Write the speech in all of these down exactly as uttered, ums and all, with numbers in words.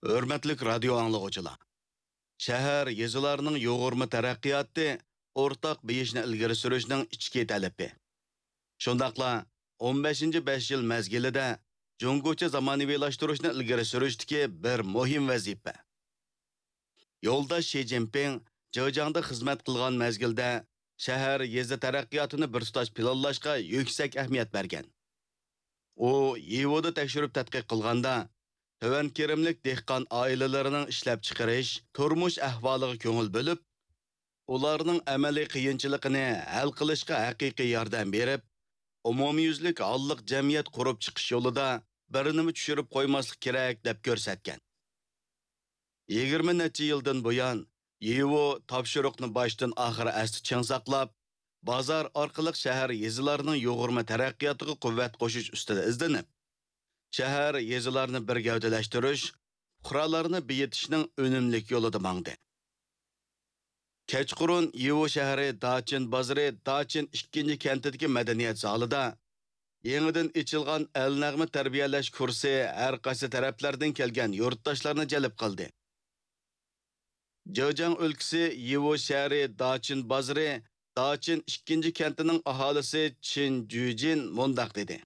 ھۆرمەتلىك رادىيو ئاڭلىغۇچىلار! شەھەر، يېزىلارنىڭ يۇغۇرما تەرەققىياتى ئورتاق بېيىشنى ئىلگىرى سۈرۈشنىڭ ئىچكى تەلىپى. شۇنداقلا ئون بەشىنچى بەش يىل مەزگىلىدە جۇڭگوچە زامانىۋىلاشتۇرۇشنى ئىلگىرى سۈرۈشتىكى بىر مۇھىم ۋەزىپە. يولداش شى جىنپىڭ جېجياڭدا خىزمەت قىلغان مەزگىلدە شەھەر، يېزا تەرەققىياتىنى بىر تۇتاش پىلانلاشقا يۈكسەك ئەھمىيەت بەرگەن. ئۇ يىۋودا تەكشۈرۈپ تەتقىق قىلغاندا، تۆۋەن كىرىملىك دېھقان ئائىلىلىرىنىڭ ئىشلەپچىقىرىش، تۇرمۇش ئەھۋالىغا كۆڭۈل بۆلۈپ، ئۇلارنىڭ ئەمەلىي قىيىنچىلىقىنى ھەل قىلىشقا ھەقىقىي ياردەم بېرىپ، ئومۇميۈزلۈك ھاللىق جەمئىيەت قۇرۇپ چىقىش يولىدا بىر نېمە چۈشۈرۈپ قويماسلىق كېرەك، دەپ كۆرسەتكەن. يىگىرمە نەچچە يىلدىن بۇيان، يىۋو تاپشۇرۇقنى باشتىن ئاخىر ئەستە چىڭ ساقلاپ، بازار ئارقىلىق شەھەر، يېزىلارنىڭ يۇغۇرما تەرەققىياتىغا قۇۋۋەت قوشۇش ئۈستىدە ئىزدىنىپ، شەھەر، يېزىلارنى بىر گەۋدىلەشتۈرۈش، پۇقرالارنى بېيىتىشنىڭ ئۈنۈملۈك يولىدا ماڭدى. كەچقۇرۇن يىۋو شەھىرى داچىن بازىرى داچىن ئىككىنچى كەنتىدىكى مەدەنىيەت زالىدا يېڭىدىن ئېچىلغان ئەلنەغمە تەربىيەلەش كۇرسى ھەر قايسى تەرەپلەردىن كەلگەن يۇرتداشلارنى جەلپ قىلدى. جېجياڭ ئۆلكىسى يىۋو شەھىرى داچىن بازىرى داچىن ئىككىنچى كەنتىنىڭ ئاھالىسى چىن جۈجىن مۇنداق دېدى: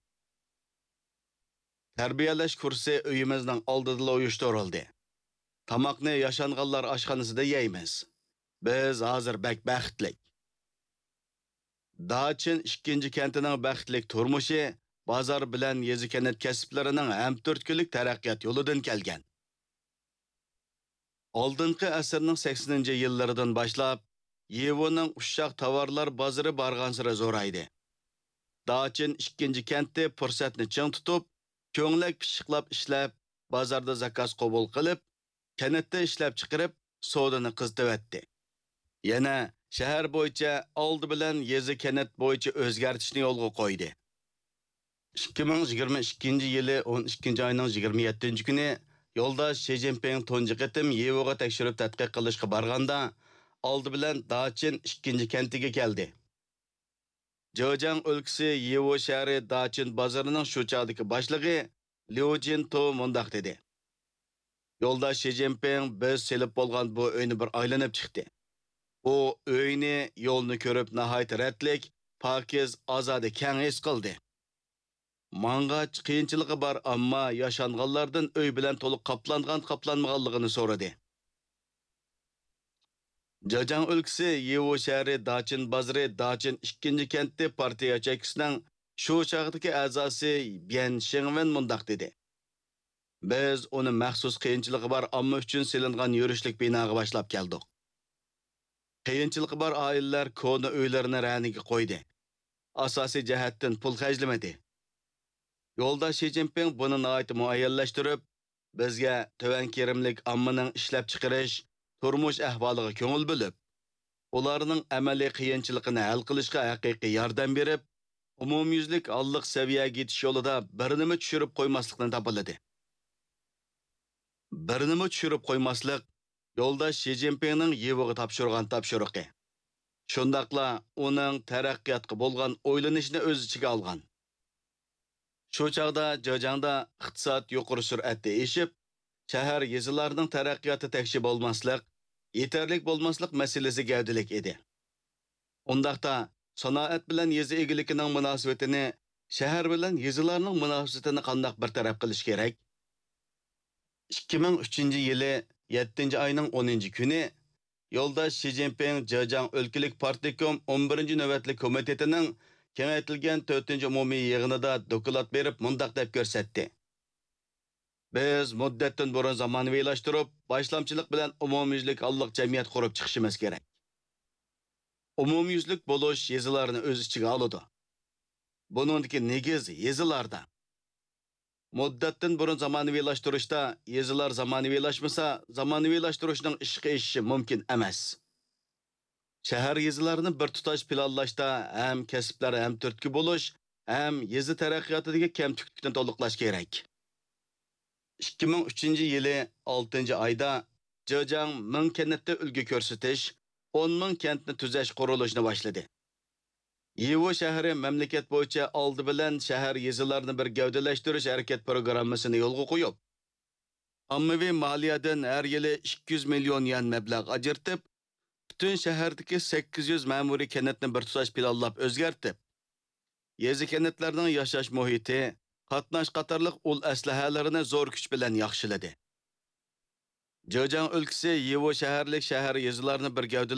تەربىيەلەش كۇرسى ئۆيىمىزنىڭ ئالدىدىلا ئۇيۇشتۇرۇلدى. تاماقنى ياشانغانلار ئاشخانىسىدا يەيمىز. بىز ھازىر بەك بەختلىك. داچىن ئىككىنچى كەنتىنىڭ بەختلىك تۇرمۇشى بازار بىلەن يېزا كەنت كەسىپلىرىنىڭ ھەمتۈرتكىلىك تەرەققىيات يولىدىن كەلگەن. ئالدىنقى ئەسىرنىڭ سەكسىنىنچى يىللىرىدىن باشلاپ، يىۋونىڭ ئۇششاق تاۋارلار بازىرى بارغانسېرى زورايدى. داچىن ئىككىنچى كەنتى پۇرسەتنى چىڭ تۇتۇپ، كۆڭلەك پىششىقلاپ ئىشلەپ، بازاردا زاكاز قوبۇل قىلىپ، كەنتتە ئىشلەپچىقىرىپ، سودىنى قىزىتىۋەتتى. يەنە شەھەر بويىچە ئالدى بىلەن يېزا كەنت بويىچە ئۆزگەرتىشنى يولغا قويدى. ئىككى مىڭ يىگىرمە ئىككىنچى يىلى ئون ئىككىنچى ئاينىڭ يىگىرمە يەتتىنچى كۈنى يولداش شى جىنپىڭ تۇنجى قېتىم يىۋوغا تەكشۈرۈپ تەتقىق قىلىشقا بارغاندا، ئالدى بىلەن داچىن ئىككىنچى كەنتىگە كەلدى. جېجياڭ ئۆلكىسى يىۋو شەھىرى داچىن بازىرىنىڭ شۇ چاغدىكى باشلىقى ليۇ جىنتو مۇنداق دېدى: يولداش شى جىنپىڭ بىز سېلىپ بولغان بۇ ئۆينى بىر ئايلىنىپ چىقتى. ئۇ ئۆينى، يولنى كۆرۈپ ناھايىتى رەتلىك، پاكىز، ئازادە، كەڭ ھېس قىلدى. ماڭغاچ قىيىنچىلىقى بار، ئەمما ياشانغانلاردىن ئۆي بىلەن تولۇق قاپلانغان-قاپلانمىغانلىقىنى سورىدى. جېجياڭ ئۆلكىسى يىۋو شەھىرى داچىن بازىرى داچىن ئىككىنچى كەنتى پارتىيە ياچېيكىسىنىڭ شۇ چاغدىكى ئەزاسى بيەن شېڭۋېن مۇنداق دېدى: بىز ئۇنى مەخسۇس قىيىنچىلىقى بار ئامما ئۈچۈن سېلىنغان يۈرۈشلۈك بىناغا باشلاپ كەلدۇق. قىيىنچىلىقى بار ئائىلىلەر كونا ئۆيلىرىنى رەنىگە قويدى. ئاساسىي جەھەتتىن پۇل خەجلىمىدى. يولداش شى جىنپىڭ بۇنى ناھايىتى مۇئەييەنلەشتۈرۈپ، بىزگە تۆۋەن كىرىملىك ئاممىنىڭ ئىشلەپچىقىرىش، تۇرمۇش ئەھۋالىغا كۆڭۈل بۆلۈپ، ئۇلارنىڭ ئەمەلىي قىيىنچىلىقىنى ھەل قىلىشقا ھەقىقىي ياردەم بېرىپ، ئومۇميۈزلۈك ھاللىق سەۋىيەگە يېتىش يولىدا بىر نېمە چۈشۈرۈپ قويماسلىقنى تاپىلىدى. بىر نېمە چۈشۈرۈپ قويماسلىق يولداش شى جىنپىڭنىڭ يىۋوغا تاپشۇرغان تاپشۇرۇقى. شۇنداقلا ئۇنىڭ تەرەققىياتقا بولغان ئويلىنىشىنى ئۆز ئىچىگە ئالغان. شۇ چاغدا جېجياڭدا ئىقتىساد يۇقىرى سۈرئەتتە ئېشىپ، شەھەر، يېزىلارنىڭ تەرەققىياتى تەكشى بولماسلىق، يېتەرلىك بولماسلىق مەسىلىسى گەۋدىلىك ئىدى. ئۇنداقتا، سانائەت بىلەن يېزا ئىگىلىكىنىڭ مۇناسىۋىتىنى شەھەر بىلەن يېزىلارنىڭ مۇناسىۋىتىنى قانداق بىر تەرەپ قىلىش كېرەك؟ ئىككى مىڭ ئۈچىنچى يىلى يەتتىنچى ئاينىڭ ئونىنچى كۈنى يولداش شى جىنپىڭ جېجياڭ ئۆلكىلىك پارتكوم ئون بىرىنچى نۆۋەتلىك كومىتېتىنىڭ كېڭەيتىلگەن تۆتىنچى ئومۇمىي يىغىنىدا دوكلات بېرىپ مۇنداق دەپ كۆرسەتتى: بىز مۇددەتتىن بۇرۇن زامانىۋىلاشتۇرۇپ، باشلامچىلىق بىلەن ئومۇميۈزلۈك ھاللىق جەمئىيەت قۇرۇپ چىقىشىمىز كېرەك. ئومۇميۈزلۈك بولۇش يېزىلارنى ئۆز ئىچىگە ئالىدۇ. بۇنىڭدىكى نېگىز يېزىلاردا. مۇددەتتىن بۇرۇن زامانىۋىلاشتۇرۇشتا يېزىلار زامانىۋىلاشمىسا، زامانىۋىلاشتۇرۇشنىڭ ئىشقا ئېشىشى مۇمكىن ئەمەس. شەھەر، يېزىلارنى بىر تۇتاش پىلانلاشتا ھەم كەسىپلەر ھەمتۈرتكە بولۇش، ھەم يېزا تەرەققىياتىدىكى كەمتۈكلۈكنى تولۇقلاش كېرەك. ئىككى مىڭ ئۈچىنچى يىلى ئالتىنچى ئايدا جېجياڭ مىڭ كەنتتە ئۈلگە كۆرسىتىش، ئون مىڭ كەنتنى تۈزەش قۇرۇلۇشىنى باشلىدى. يىۋو شەھىرى مەملىكەت بويىچە ئالدى بىلەن شەھەر، يېزىلارنى بىر گەۋدىلەشتۈرۈش ھەرىكەت پىروگراممىسىنى يولغا قويۇپ، ئاممىۋى مالىيەدىن ھەر يىلى ئىككى يۈز مىليون يۈەن مەبلەغ ئاجرىتىپ، پۈتۈن شەھەردىكى سەككىز يۈز مەمۇرىي كەنتنى بىر تۇتاش پىلانلاپ ئۆزگەرتىپ، يېزا كەنتلەرنىڭ ياشاش مۇھىتى، قاتناش قاتارلىق ئۇل ئەسلىھەلىرىنى زور كۈچ بىلەن ياخشىلىدى. جېجياڭ ئۆلكىسى يىۋۇ شەھەرلىك شەھەر يېزىلارنى بىر گەۋدىلەشتۈرۈپ،